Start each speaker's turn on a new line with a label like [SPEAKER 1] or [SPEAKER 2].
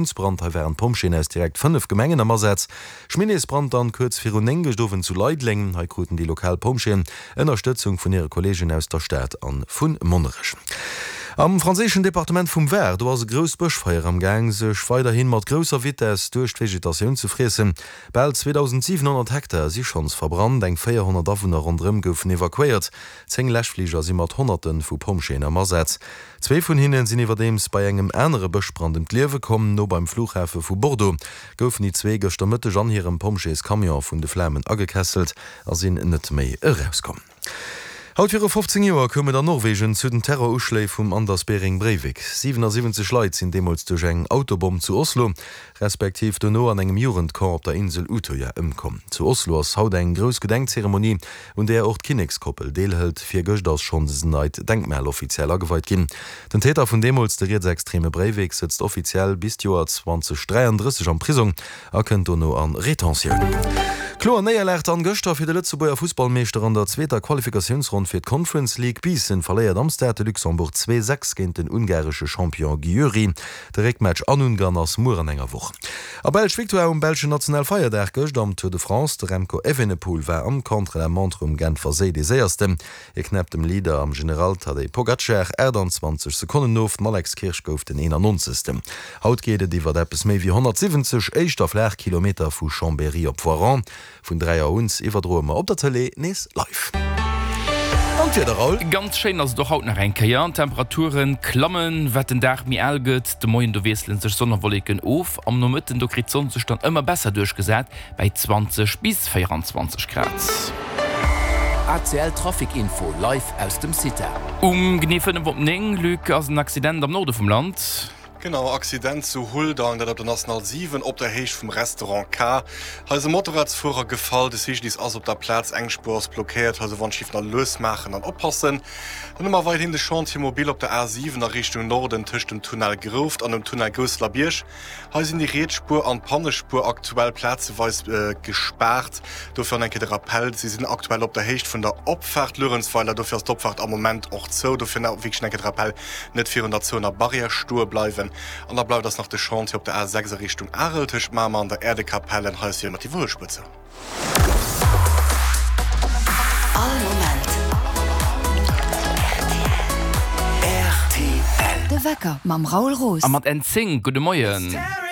[SPEAKER 1] Brand, hei waren d'Pompjeeën aus direkt 5 Gemengen am Asaz. Schminneesbrand dann kuerz virun 9 gëscht Owend zu Leideleng. Hei kruten déi lokal Pompjeeën Ënnerstëtzung vun hire Kolleegen aus der Stad an vu Monnerech. Am franséischen Departement vum Var, do ass e grousst Bëschfeier am Gaang sech weiderhin mat grousser Vitess duerch d'Vegetatioun ze friessen. Bal 2.700 Hektar si schonns verbrannt, eng 400 Awunner ronderëm goufen evakuéiert. 10 Läschfliger si mat Honnerte vu Pompjeeën am Asaz. Zwee vun hinne sinn iwwerdeems bei engem anere Bëschbrand ëm d'Liewe komm. No beim Flughafe vu Bordeaux goufen déi zwee gëschter Mëtteg an hirem Pompjeescamion vun de Flamen agekesselt a sinn net méi erauskomm. Haut viru 15 Joer koum et an Norwegen zu den Terroruschléi vum Anders Behring Breivik. 77 Leit sinn deemools duerch eng Autobomm zu Oslo, respektiv dono an engem Jugendcamp op der Insel Utøya ëmkomm. Zu Oslo ass haut eng grouss Gedenkzeremonie, un där och d'Kinnekskoppel deelhëlt. Virgëscht ass schonns en neit Denkmal offiziell ageweit ginn. Den Täter vun deemools, de rietsextreme Breivik, sëtzt offiziell bis d'Joer 2033 am Prisong a kënnt dono a Retentioun. Kloer Néierlag dann gëschter fir de Lëtzebuerger Fussballmeeschter an der zweeter Qualifikatiounsronn fir d'Conference League. Biissen verléiert am Stade de Luxembourg 2, 6 géint den ungaresche Champion Győri. De Réckmatch an Ungarn ass muer an enger Woch. A Belsch Victoire um belschen Nationalfeierdag gëscht am Tour de France. De Remco Evenepoel war am Contre-la-montre um Genfer Séi dee séiersten. Hie knäppt dem Leader am General Tadej Pogacar 28 Sekonnen of. Den Alex Kirsch gouf den 91. Haut geet et iwwert eppes méi wéi 170 éischter flaach Kilometer vu Chambéry op Voiron. Vun 3 Auer un iwwerdroe mer op der Tëlee nees live. An d'Wieder, Raoul?
[SPEAKER 2] Ganz schéin ass et och haut nach eng Kéier. D'Temperature klammen, wat den Dag méi al gëtt. De Moien do wiessele sech Sonn a Wolleken of, am Nomëtten do kritt d'Sonn sech dann ëmmer besser duerchgesat bäi 20 bis 24 Grad.
[SPEAKER 3] ACL Trafic Info live aus dem CITA.
[SPEAKER 2] Um genee 5 op 9, Luc, ass en Accident am Norde vum Land.
[SPEAKER 4] Genau, Accident zu Huldang, dat op der National 7 op der Héicht vum Restaurant K. Hei ass e Motorradsfuerer gefall, de CGDIS ass op der Plaz, eng Spuer ass blockéiert. Also wann d'Schiff nach lues maachen an oppassen. Dann hu mer weiderhin de Chantier mobile op der A7 a Richtung Norden tëscht dem Tunnel Grouft an dem Tunnel Gousseler-Bierg. Hei sinn déi riets Spuer an d'Pannespuer aktuell plazeweis gespaart. Dofir an eng Kéier de Rappel, Si sinn aktuell op der Héicht vun der Opfaart Luerenzweiler, dofir ass d'Opfaart am Moment och zou. Dofir nach wierklech eng Kéier de Rappel, Net virun der zouener Barrière stoe bleiwen. An da bleift eis nach de Chantier op der A6 a Richtung Arel tëscht Mamer an der Äerdekapell. Hei ass jo ëmmer d'Iwwerhuelspuer zou.
[SPEAKER 3] All Moment rtl. De Wecker mam Raoul Roos.
[SPEAKER 2] A mat N10, gudde Moien.